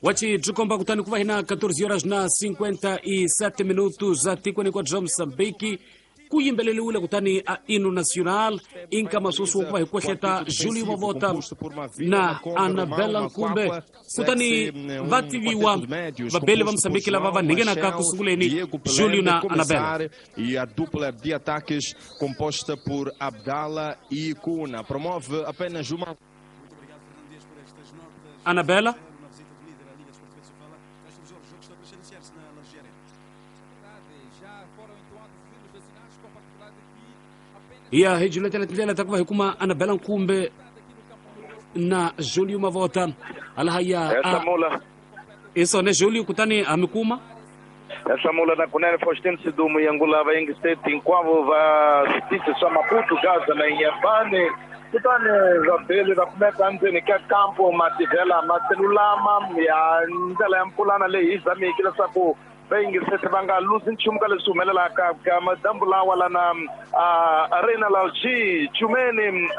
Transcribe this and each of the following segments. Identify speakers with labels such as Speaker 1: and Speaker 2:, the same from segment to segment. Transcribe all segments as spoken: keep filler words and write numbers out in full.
Speaker 1: Wachi byi kutani ku va hina quatorze horas na cinquenta e sete minutos atikweni hinkwabyo bya Mozambique ku yimbeleriwile kutani a hino nacional inkama sweswi ku va hi kwehleta Julio Mavota na Anabela Nkumbe kutani va tiviwa vabeli va Mozambique lava va nghenaka ku sunguleni Julio na Anabela.
Speaker 2: E a dupla de ataques composta por Abdala e Kuna promove apenas uma.
Speaker 1: Anabela ya hi juletela tindlela ta ku va hi kuma Anabela Nkumbe na Julio Mavota alaha ya isone Julio kutani amikuma
Speaker 3: Hlamula na kunene Faustino Sidumo yangulava yengiseti hinkwavo va switichi swa Maputo, Gaza na Inhambane kutani vabeli va kumeka ndzeni ka kampo mativhela maselulama ya ndlela ya mpulana leyi hi zamiki leswaku va yingiseti va nga luzi nchumu ka leswi humelelaka ka madambu lawa lana Arena Lalji Chumeni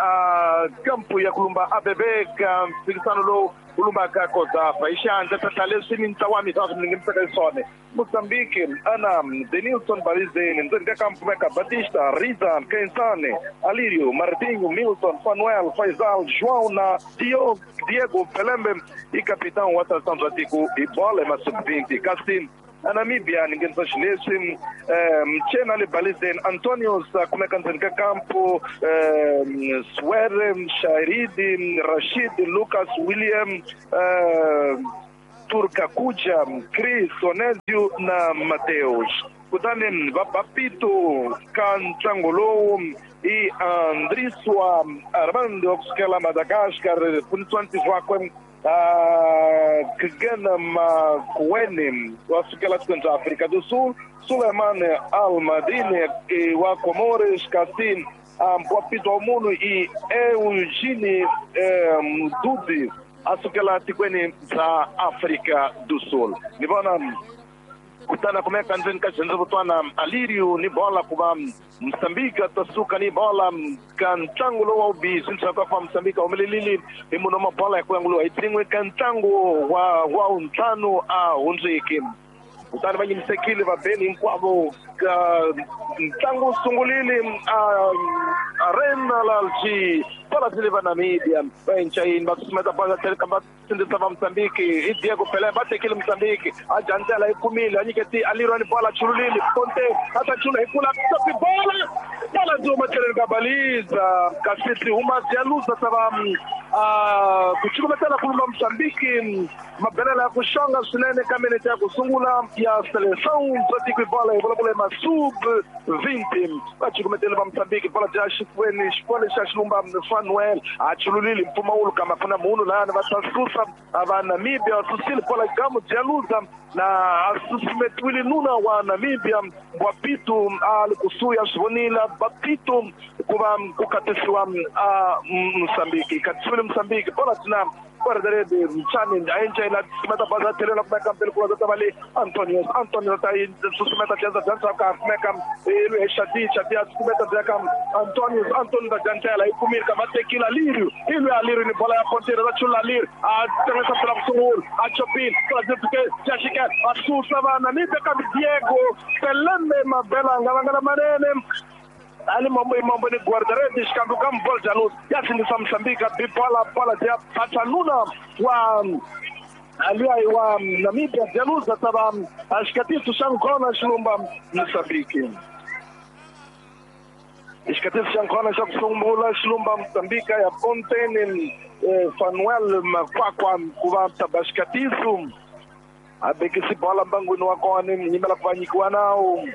Speaker 3: kampu ya kulumba A B B ka mphikisano lowu ku lumbaka Kozafa hi xiandla tata leswi mintlawa mitatu mi nghenisaka swona Mozambique ana Denilson Balizeni ndzeni ka kampu meka Batista Riza Kensane Alirio Martinho Milton Fanuel Faisal João na Diogo Diego Pelembe i capitão wa seleção bya tiko hi bola ya sub vinte kasi a Namíbia nghenisa xileswi Mchena le Balizeni Antonio kumeka ndzeni ka kampo Swere Shairidi Rashid Lucas William Turkakuja Chris Onezio na Mateus kutani va Bapito ka ntlangu lowu i Andriswa Armando wa kusukela Madagascar pfunisiwa ntirho wakwe Kgena Makuene wa sukela tikweni bya Afrika do Sul, Suleiman Almadine wa Comores, kasi Mpwapito wa munhu i Eugene Mdudi a sukela tikweni bya Afrika do Sul. Ni vona kutana kumeka ndzeni ka xirhendzevutwana Alirio ni bola ku va Mozambique ta suka ni bola ka ntlangu lowu wa vubihi ndzhaku ka ku va Mozambique humelelile hi munhu wa mabola ya ku yanguliwa hi tin'we ka ntlangu wa wa wuntlhanu a hundziki kutani va yimisekile vabeli hinkwavo ka ntlangu wu sungulile a Arena Lalji bola zile va Namibia va encayini va susumeta bola tlhelo ka va sindzisa va Mozambique hi Diego Pelé va tekile Mozambique a jandzela yi kumile a nyiketi Aliro ni bola chululile Conte a ta chula hi kula topi bola bola ndzi huma tlhelweni ka baliza kasi ti huma Dialuza ta va ku cukumetela ku lumba Mozambique mabelela ya ku xonga swinene ka minete ya ku sungula ya seleção bya tiko hi bola hi vulavula hi masub vinte va cukumetele va Mozambique bola dya xifuweni xifuwa xa xilumba Fanuel a chululile mpfumawulo kambe a ku na munhu lani va ta susa va Namibia susile bola gamu Dialuza na a susumetiwile nuna wa Namibia Bapito a li kusuhi a swi vonile Bapito ku va ku katisiwa a Mozambique katisiwile Mozambique bola tina guarda-rede Mchani a encayina susumeta baza tlhelo kumeka mbele ku ta va le Antonio Antonio ta susumeta dyanza dyanza ka kumeka ilwe Shadi Shadi susumeta dya ka Antonio Antonio ta dyandzela yi kumile ka va tekile Alirio ilwe Alirio ni bola ya pontera va chula Alirio a tirhisa bola ku sungula a chopile bola dya Jashika a susa va Namibia ka Diego Pelembe mabela nga vangala manene ali mambo mambo ni guarda-redes kambe ka bola Jaluz ya sindzisa Mozambique bi bola bola dya Patsanuna wa aliai wa Namibia Jaluz ta va xikatiso xa nkona xilumba Mozambique xikatiso xa nkona xa ku sungula xilumba Mozambique ya Pontene Fanuel Makwakwa ku va taba xikatiso a bekisi bola mbangwini wa kona yimela ku va nyikiwa nawu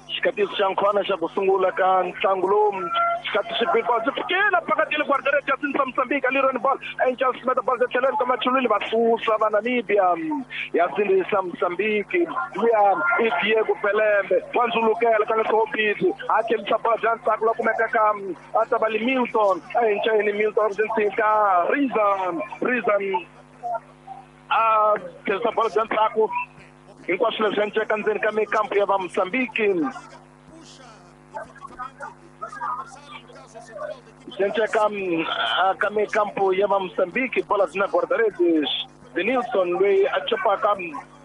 Speaker 3: xikatiso xa nkhona xa ku sungula ka ntlangu lowu xikatiso xi byi fikile phakathi le guarda-redes ya sindzisa Mozambique Aliro ni bola enca susumeta bola tlhelweni ka machulwini va susa va Namibia ya sindzisa Mozambique luya i Diego Pelembe wa ndzulukela ka leswo a tlhelisa bola bya ntsako la kumeka ka a ta va le Milton a encayini Milton ka Rizan Rizan a tlhelisa bola bya ntsako hinkwaswo leswi enceka ndzeni ka mikampu ya va Mozambique swi enceka ka mikampu ya va Mozambique bola byi na guarda-redes Denilson loyi a chopaka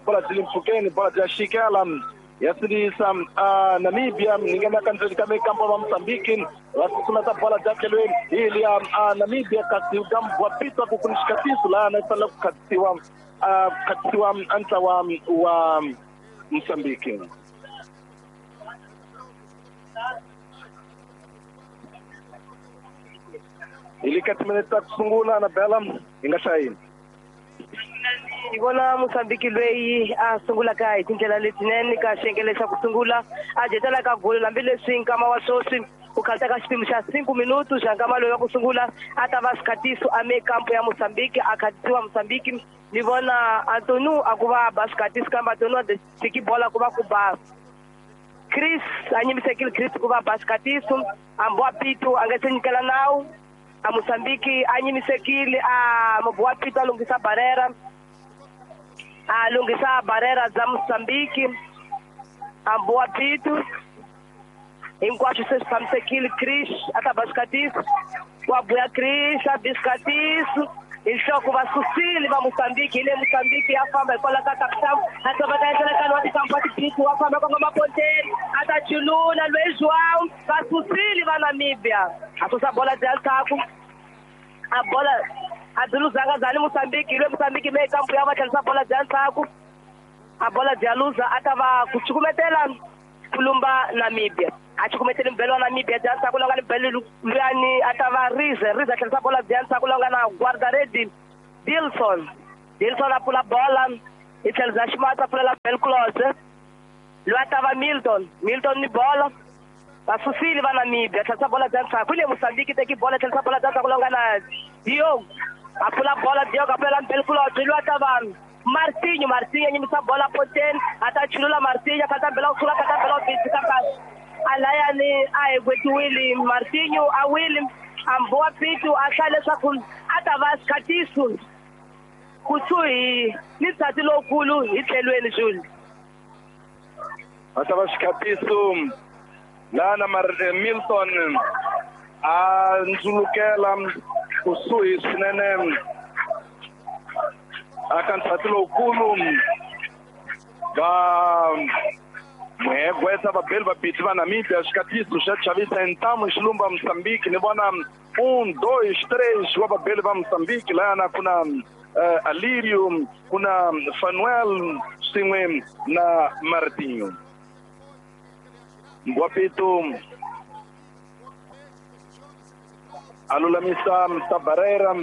Speaker 3: bola byi le mpfhukeni bola bya xikela ya sindzisa Namibia ni nghena ka ndzeni ka mikampo va Mozambique va susumeta bola bya tlhelweni hi liya Namibia kasi ka Mbwapitwa ku ku ni xikatiso laha na fanele ku khatisiwa khatisiwa ntlawa wa Mozambique. Hi le ka timinete ta ku sungula na Bella hi nga hlayini.
Speaker 4: Hi vona Mozambique loyi a sungulaka hi tindlela letinene ka xiyenge xa ku sungula a dyetela ka golo hambileswi nkama wa sweswi ku khalita ka xiphemu xa cinco minutos xa nkama loyi wa ku sungula a ta va xikhatiso a mekampo ya Mozambique a khatisiwa Mozambique. Ni vona Antonio a ku va ba xikhatiso kambe Antonio a tiki bola ku va ku ba Chris a nyimisekile Chris ku va ba xikhatiso a Mbwapito a nga se nyikela nawu a Mozambique a nyimisekile a Mbwapito a lunghisa barrera a lunghisa barrera bya Mozambique a Mbwapito hinkwaswo se swi tshamisekile. Chris a ta ba xikhatiso wa buya Chris a bi xikhatiso hi nhloko va susile va Mozambique. Hi le Mozambique ya famba hikwalaho ka kapitamu a tsoveka enhlekani wa tikampa tibisi wa famba kongoma ponteni a ta chulula loyi João va susile va Namibia a susa bola bya ndzhaku a bola a byi luzanga zani Mozambique. Hi le Mozambique me kampu ya va tlherisa bola bya ndzhaku a bola bya luza a ta va ku cukumetela ku lumba Namibia a cukumetele mbelo wa Namibia bya ndzhaku la nga ni mbelo luyani a ta va Rize Rize a tlherisa bola bya ndzhaku la nga na guardaredi Dilson Dilson a pfula bola hi tlhelo bya ximatsi a pfulela Belclose loyi a ta va Milton Milton ni bola va susile va Namibia a tlherisa bola bya ndzhaku. Hi le Mozambique teki bola tlherisa bola bya ndzhaku la nga na Diogo a pfula bola Diogo a pfulela Belclose loyi a ta va Martinho Martinho a nyimisa bola poteni a ta chulula Martinho a kata mbela ku sula kata mbela ku bitika kasi alayani a hi gwetiwile Martinho a wile a Mbwapito a hlaya leswaku a ta va xikhatiso kusuhi ni nsati lowukulu hi tlhelweni Jules.
Speaker 3: A ta va xikhatiso laha na Milton a ndzulukela kusuhi swinene aka nsati lowukulu va muhegwetsa vabeli vabiti va Namibia xikhatiso xa chavisa ntamu xilumba Mozambique. Ni vona un dois três wa vabeli va Mozambique lahana ku na uh, Alirio ku na Fanuel swin'we na Martinho. Mbwapito a lulamisa Tabarera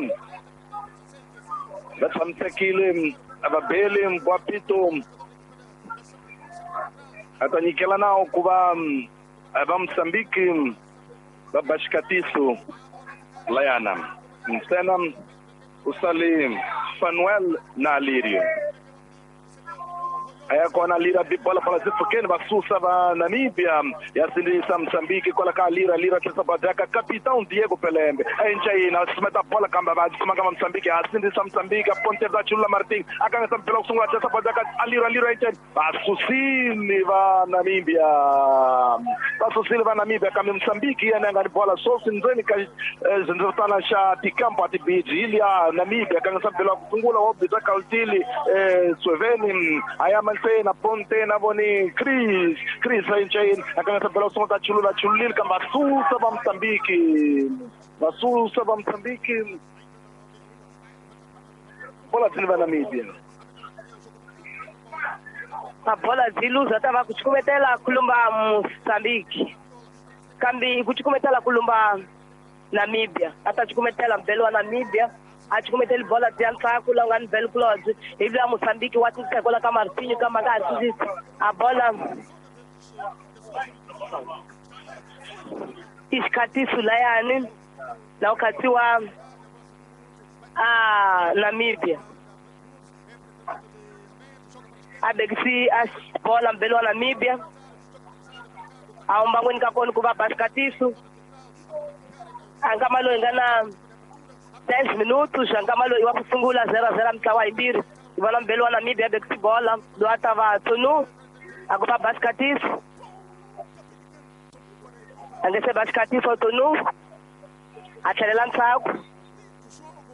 Speaker 3: va tshamisekile vabeli Mbwapito a ta nyikela nawu ku va va Mozambique va ba xikatiso layana ntsena u sale Fanuel na Alirio a ya kona Lira bi bola bola byi pfukeni va susa va Namibia ya sindzisa Mozambique kwala ka Lira Lira tlherisa badaka capitão Diego Pelembe a encayina a susumeta bola kambe va sumaka va Mozambique a sindzisa Mozambique a ponte va chulula Martin a kangisa mpela ku sungula tlherisa badaka a Lira Lira encayina va susile va Namibia va susile va Namibia kambe Mozambique yena a nga ni bola swoswi ndzeni ka xindzevutana xa tikampo a tibiji hi liya Namibia a kangisa mpela ku sungula wa bita Kaltili Sweveni a ya na ponte na voni Chris Chris encayini a kangisa mpela ku sungula ta chulula chululile kambe va susa va Mozambique va susa va Mozambique bola byi va Namibia
Speaker 4: a bola byi luza ta va ku cukumetela ku lumba Mozambique kambe ku cukumetela ku lumba Namibia a ta cukumetela mbelo wa Namibia a cukumeteli bola bya ndzhaku la nga ni Belclose hi vula Mozambique wa titshekola ka Martinho kambe a nga ha sindzisi a bola i xikhatiso layani la ku khatsiwa a Namibia a bekisi a bola mbelo wa Namibia a humbangweni ka kona ku va ba xikhatiso a nkama loyi nga na dez minutos nkama loyi wa ku sungula zero zero mintlawa yimbirhi hi vona mbelo wa Namibia bekisi bola loyi a ta va Tunu a ku va ba xikhatiso a nge se ba xikhatiso Tunu a tlhelela ndzhaku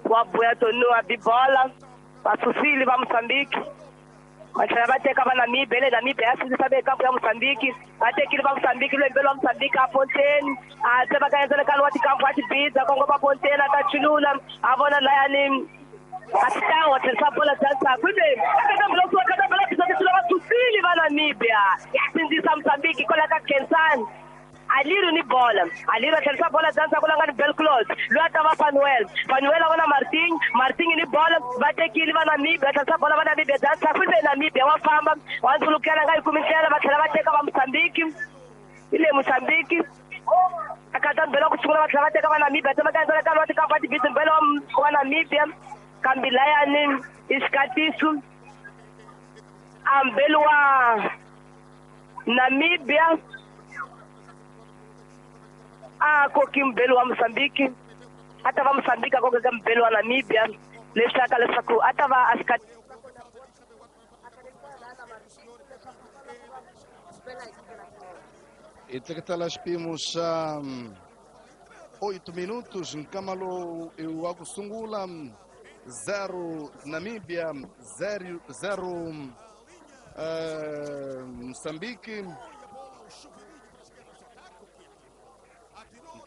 Speaker 4: wa buya Tunu a bi bola Va susile va Mozambique. Va tlhela va teka va Namibia, le Namibia ya sindzisa ve kampu ya Mozambique. Va tekile va Mozambique, lwembelo wa Mozambique a Fontaine. A tsema ka endzele wa tikampu a tibidza kongoma Fontaine a ta chulula a vona layani capitão a tlherisa bola bya ndzhaku ivi va susile va Namibia ya sindzisa Mozambique kwala ka Khensani. Aliru ni bola. Aliru a tlherisa bola bya ndzhaku la nga ni Belclose. Loyi a ta va Fanuel. Fanuel a vona Martin. Martin ni bola. Va tekile va Namibia. Tlherisa bola va Namibia bya ndzhaku ivi Namibia wa famba. Wa ndzulukela nga yi kumi ndlela va tlhela va teka va Mozambique. Hi le Mozambique. A kata mbelo ku sungula va tlhela va teka va Namibia. Tsema ka endzela ka wa tikampu va tibidzi mbelo wa Namibia. Kambi layani i xikatiso. A mbelo wa Namibia a koki mbelo wa Mozambique. A ta va Mozambique a kokeka mbelo wa Namibia leswi leswaku a ta va a xikati.
Speaker 5: I teketela xipimo xa oito minutos nkamalo wa ku sungula zero Namibia zero zero uh, Mozambique.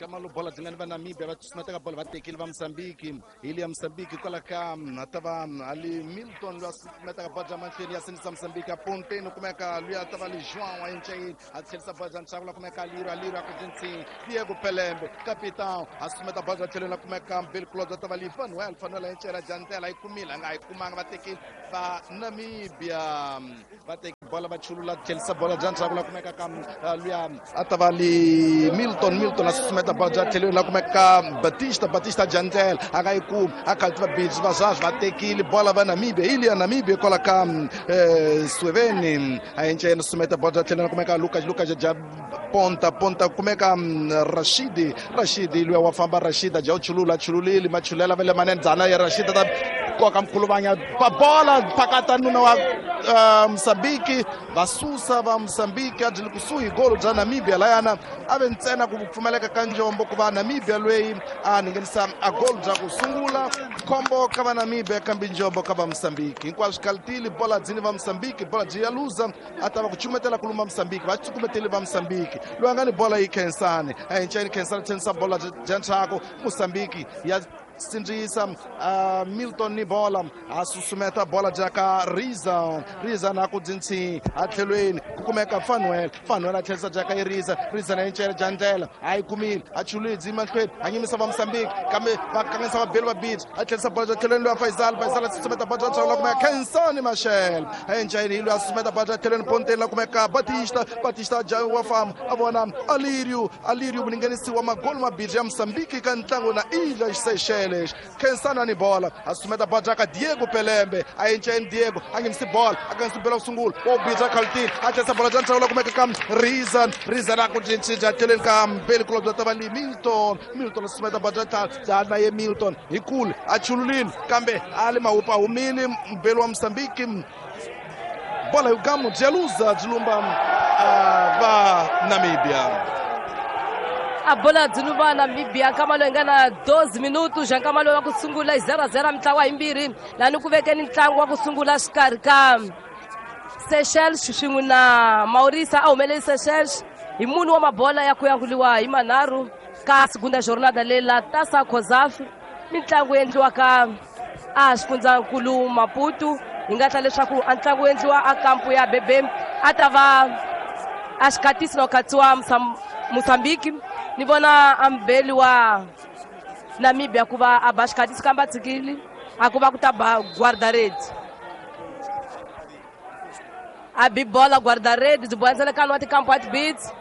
Speaker 5: Kamalo bola dzingani va Namibia va tsusumeteka bola va tekile va Mozambique. Hi le ya Mozambique kwala ka a ta va ali Milton loyi a susumetaka bola bya mahlweni ya sindzisa Mozambique. A Fontaine kumeka loyi a ta va li João a encayini a tlherisa bola bya ndzhaku la kumeka Aliro. Aliro a ku cincini Diego Pelembe capitão a susumeta bola bya tlhelweni la kumeka Belclose a ta va li Fanuel. Fanuel a encela jantela yi kumile a nga yi kumanga va tekile va Namibia va teki bola va chulula tlherisa bola bya ndzhaku la kumeka ka luya a ta va li Milton. Milton a susumeta bola bya tlhelweni la kumeka Batista. Batista Jantel a nga yi kumi a khalti va bidzi va swaswi va tekile bola va Namibia. Hi le ya Namibia kwala ka Sweveni a encela susumeta bola bya tlhelweni la kumeka Lucas. Lucas ja ponta ponta kumeka Rashidi. Rashidi luya wa famba Rashid a ja u chulula chululile machulela va le manene dzana ya Rashid ta koka mkhuluvanya pa bola phakata nuna wa uh, Mozambique. Va susa va Mozambique a byi le kusuhi golo bya Namibia layana a ve ntsena ku pfumaleka ka njombo ku va Namibia loyi a nghenisa a golo bya ku sungula. Khombo ka va Namibia kambe njombo ka va Mozambique. Hinkwaswo kalitile bola dzini va Mozambique bola byi ya luza a ta va ku chumetela ku luma Mozambique va cukumetele va Mozambique. Loyi a nga ni bola yi Khensani a enceni Khensani tlhenisa bola bya ndzhaku Mozambique ya sindzisa uh, Milton ni bola a susumeta bola jaka Riza. Riza na ku dzinsi a tlhelweni ku kumeka Fanuel. Fanuel a tlherisa jaka yi Riza. Riza na encela jantela a yi kumile a chulidzi mahlweni a nyimisa va Mozambique kambe va kanganyisa va beli va bidzi a tlherisa bola bya tlhelweni loyi a Faisal. Faisal a susumeta bola bya ndzhaku la kumeka Khensani Machel a encela loyi a susumeta bola bya tlhelweni ponteni la kumeka Batista. Batista ja wa famba a vona Alirio. Alirio mulinganisi wa magolo mabirhi ya Mozambique ka ntlangu na Ilhas Seychelles. Khensani ni bola a susumeta bola jaka Diego Pelembe a enceni Diego a nghenisi bola a nghenisi bola ku sungula wa bidza khaltini a tlherisa bola bya ndzhaku la kumeka ka Rizan. Rizan a ku cincinca tlhelweni ka Mbeli kulobye bya ta va li Milton. Milton a susumeta bola bya ntlhanu bya na ye Milton hi kule a chululile kambe a le mawupa humile Mbeli wa Mozambique. Bola yugamu bya luza byi lumba va Namibia.
Speaker 4: A bola byi lumba Namibia nkama loyi nga na doze minutos nkama loyi wa ku sungula hi zero zero mitlangu yimbirhi lani ku vekeni ntlangu wa ku sungula xikarhi ka Seychelles swin'we na Mauritius. A humeleli Seychelles hi mune wa mabola ya ku yanguliwa hi manharhu ka segunda jornada leyi la Taça COSAFA mitlangu endliwaka a xifundzankulu Maputo. Hi nga tla leswaku a ntlangu endliwa a kampu ya Bebe a ta va a xikatisi na ku khatsiwa Mozambique. Ni vona a mbeli wa Namibia ku va a ba xikatisi kambe a tshikile a ku va ku ta ba guarda-redes a bi bola guarda-redes byi boha ndzele wa tikampu wa tibits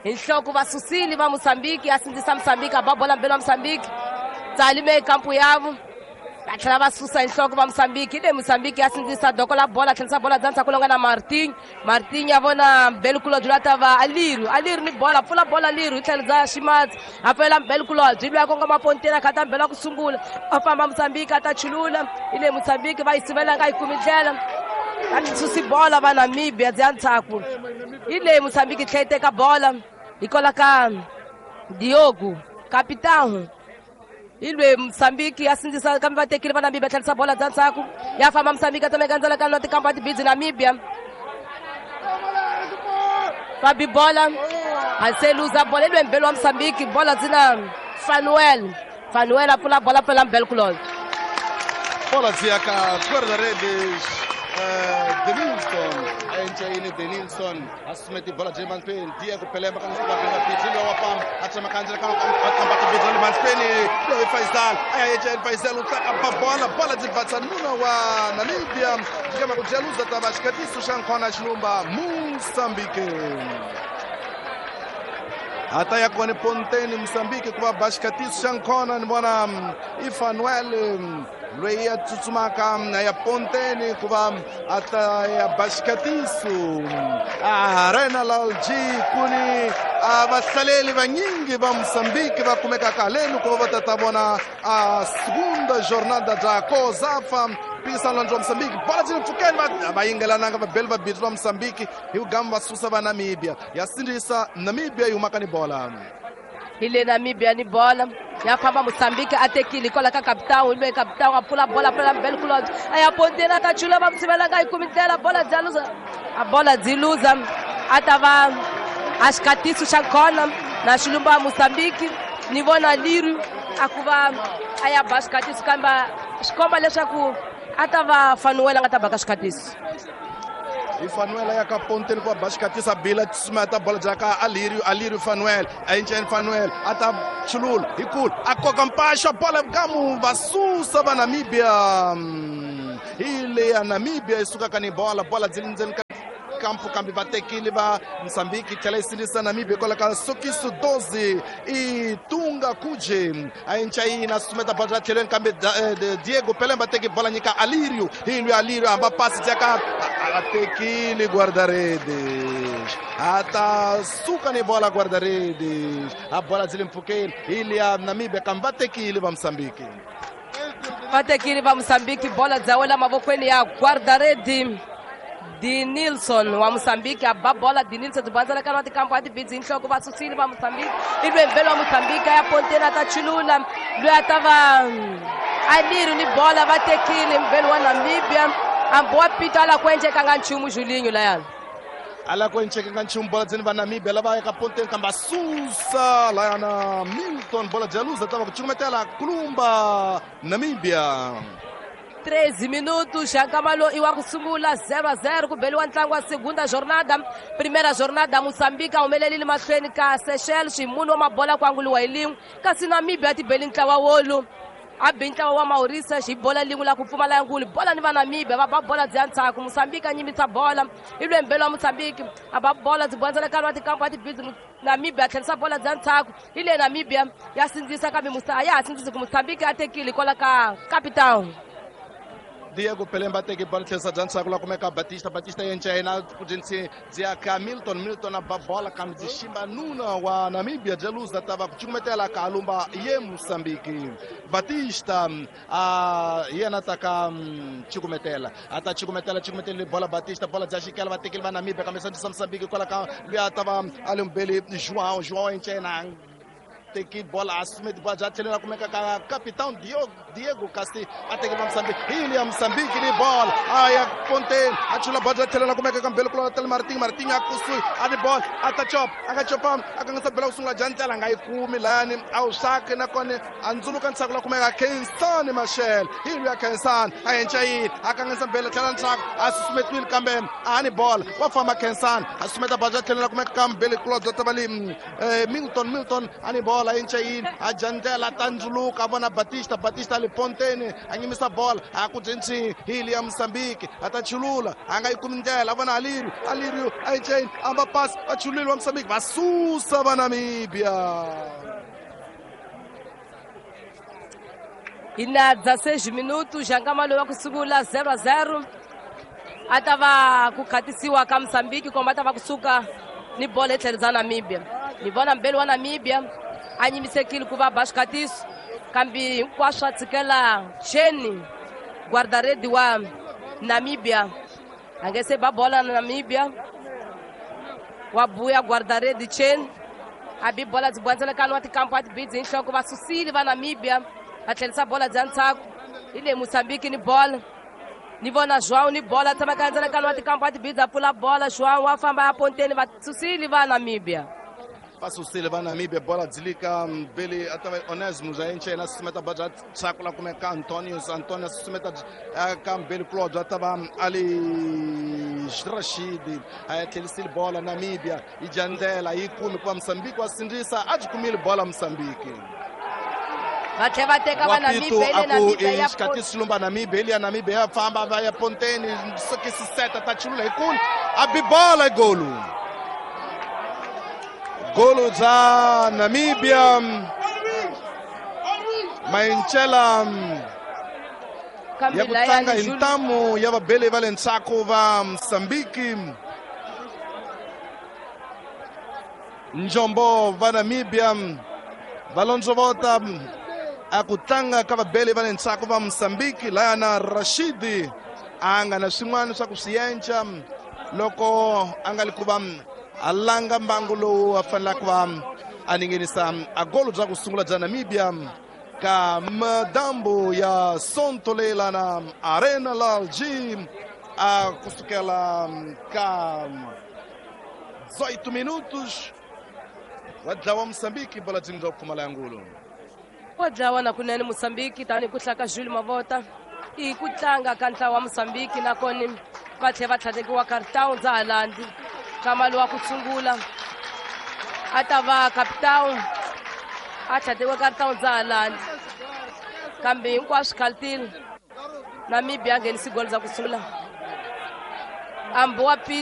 Speaker 4: hi nhloko va susile va Mozambique a sindzisa Mozambique a ba bola mbeli wa Mozambique tsali me kampu yavo va tlhela va susa hi nhloko va Mozambique. Hi le Mozambique ya sindzisa doko la bola tlherisa bola bya ndzhaku longa na Martin. Martin ya vona Mbelkulobye loyi a ta va Aliru. Aliru ni bola pfula bola Aliru hi tlhelo bya ximatsi a pfulela Mbelkulobye loyi a kongoma ponteni a khata mbelo wa ku sungula a famba Mozambique a ta chulula. Hi le Mozambique va yi sivela nga yi kumi ndlela va susi bola va Namibia bya ndzhaku. Hi le Mozambique yi tlhela yi teka bola hi kwala ka Diogo capitão Hi lwe Mozambique ya sindzisa kambe va tekile va Namibia tlherisa bola bya ndzhaku ya famba Mozambique a tsemeka ndzela ka tikampa tibidzi Namibia va bi bola a se luza bola hi lwe mbelo wa Mozambique bola dzina Fanuel Fanuel a pfula bola pfela mbelo kulolo
Speaker 5: bola dzi ka guarda-redes uh, Denilson a encaini Denilson asumeti bola dzi mahlweni Diego Pelemba kana suka bela bidzi wa pam a tsema kanzela ka ka ka bidzi le mahlweni loyi Faisal a ya encaini Faisal u tlaka pa bola bola dzi vatsa nuna wa Namibia dikama ku jaluza tava xikatiso xa nkhona xilumba Mozambique ata ya kone Ponteni Mozambique ku va ba xikatiso xa nkhona ni vona i Fanuel loyi a tsutsumaka ya Ponteni ku va ata ya ba xikatiso Arena Lalji kuni a vahlaleli vanyingi va Mozambique va kumekaka haleni ku va va tata vona a segunda jornada bya COSAFA mphikizano wa Mozambique bola dzi mpfukeni va va yingelananga vabeli va bidzi va Mozambique hi ku gama va susa va Namibia ya sindzisa Namibia yi humaka ni bola
Speaker 4: hi le Namibia ni bola ya famba Mozambique a tekile kwala ka capitão loyi capitão a pfula bola pfula mbele kulonzo a ya Ponteni a ta chula va musivelanga yi kumi ndlela bola dya luza a bola dyi luza a ta va a xikatiso xa khona na xilumba wa Mozambique ni vona Liru a ku va a ya ba xikatiso kambe swi komba leswaku a ta va Fanuel a nga ta baka xikatiso
Speaker 5: i Fanuel ya ka Ponteni ku va ba xikatisa bila tsumeta bola bya ka Alirio Alirio Fanuel a enceni Fanuel a ta chulula hi kulu a koka mpaxa bola gamu va susa va Namibia hi le ya Namibia yi sukaka ni bola bola dzi ndzeni ka kampo kambe va tekile va Mozambique tlhela yi sindzisa Namibia hikwalaho ka sokiso doze i Tunga Kuje a encayina sumeta bola bya tlhelweni kambe Diego Pelemba teki bola nyika Alirio hi lwi Alirio hamba pasi bya ka a tekile guarda-redes a ta suka ni bola guarda-redes a bola dzi le mpfhukeni hi liya Namibia kambe va tekile va Mozambique
Speaker 4: va tekile va Mozambique bola dya wela mavokweni ya guarda-redes Denilson wa Mozambique a ba bola Denilson tibandzela ka tikampo a tibidzi hi nhloko va susile va Mozambique i lwe mbelo wa Mozambique ya Ponteni a ta chulula loyi a ta va Alirio ni bola va tekile mbelo wa Namibia hambi wa pito a la ku endlekanga nchumu Julinho layani
Speaker 5: a la ku endlekanga nchumu bola dzeni va Namibia lava yaka Ponteni kambe a susa layana Milton bola dya luza ta va ku cukumetela kulumba Namibia
Speaker 4: treze minutos, já Camalo e o sungula zero a zero, ku beliwa ntlangu wa segunda jornada, primeira jornada Moçambique a humelelile mahlweni ka Seychelles, munhu wa mabola ku anguliwa hi lin'we, kasi Namibia ti beli ntlawa wolu a bi ntlawa wa Mauritius hi bola lin'we la ku pfumala ngulu bola ni va Namibia va ba bola bya ndzhaku Moçambique a nyimitsa bola i lwembelo wa Moçambique a ba bola byi bondzela ka tikampo a tibidzi Namibia a tlherisa bola bya ndzhaku hi le Namibia ya sindzisa kambe a ya ha sindzisi ku Moçambique a tekile kwala ka Capital.
Speaker 5: Diego Pelemba teke bola tlherisa bya ndzhaku la kumeka Batista Batista yenca ku dzinsi dzi ka Milton Milton a ba bola kambe dzi ximba nuna wa Namibia bya luza ta va ku cukumetela ka alumba ye Mozambique Batista a yena ta ka cukumetela a ta cukumetela cukumetela bola Batista bola bya xikela va tekile va Namibia kambe sandzisa Mozambique kwala ka luya ta va alumbeli João João yenca teki bola asumeti bola bya tlhelela kumeka ka capitão Diego Diego Casti a teki va Mozambique hi ya Mozambique ni bola a ya Ponteni a chula bola bya tlhelela kumeka ka mbele kulona tele Martin Martin a kusuhi a ni bola a ta chop a nga chopa a kangisa bela ku sungula bya ndlela nga yi kumi layani a wu xaki nakona a ndzuluka ntshaku la kumeka Khensani Machel hi ya Khensani a yenca yini a kangisa bela tlhela ntshaku a susumetiwile kambe a ni bola wa famba Khensani a sumeta bola bya tlhelela kumeka ka mbele kulona bya tavali Milton Milton a ni bola yenca yini a jandlela tandzuluka a vona Batista Batista le Ponteni a nyimisa bola a ku dzinsi hi ya Mozambique a ta chulula a nga yi kumi ndlela a vona Alirio Alirio a yenca yini a va pass va chulile wa Mozambique va susa va Namibia
Speaker 4: hi na dezesseis minutos já Nkamalo wa ku sungula zero a zero a ta va ku khatisiwa ka Mozambique komba ta va kusuka ni bola hi tlhelo bya Namibia ni vona mbeli wa Namibia a nyimisekile ku va ba xikatiso kambe hinkwaswo a tshikela Cheni guarda-rede wa Namibia a nge se ba bola na Namibia wa buya guarda-rede Cheni a bi bola byi bondzela wa tikampo a tibidzi hi nhloko va susile va Namibia Va tlherisa bola bya ntshaku hi le Mozambique ni bola ni vona João ni bola tsemaka ndzeni ka wa tikampa wa tibidza pfula bola João wa famba ya ponteni va susile va Namibia
Speaker 5: va susile va Namibia bola dzilika mbili atava Onesmo ja enchena susumeta baja tsakula kumeka Antonius Antonius susumeta ka mbili Claudio atava ali Rashid a tlhelisile bola Namibia yi dya ndlela yi kumi kuva Mozambique wa sindzisa a byi kumile bola Mozambique
Speaker 4: va tlhela va teka va Namibia ile Namibia ya
Speaker 5: xikati xilumba Namibia ile ya Namibia ya famba va ya ponteni sokisi seta ta chulula hi kulu a bi bola golu golu bya Namibia Mainchela ya ku tlanga hi ntamu ya vabeli va le ndzhaku va Mozambique Njombo va Namibia va londzovota a ku tlanga ka vabeli va le ndzhaku va Mozambique laya na Rashidi a nga na swin'wana swa ku swi yenca loko a nga li ku va a langa mbangu lowu a fanelaka va a ningenisa a golo bya ku sungula bya Namibia ka madambu ya Sonto leyi na Arena Lalji a kusukela ka dezoito minutos wa dlawa Mozambique bola byi nga pfumala ya ngulu
Speaker 4: wa dlawa na kunene Mozambique tani ku hlaka Jules Mavota i ku tlanga ka ntlawa wa Mozambique nakona va tlhela va tlhatekiwa Cartão dza Halandi kama lowa ku sungula a ta va capitão a tlhatekiwa Cartão dza Halandi kambe hinkwaswo khaltile Namibia a nghenisi golo za ku sungula ambi wa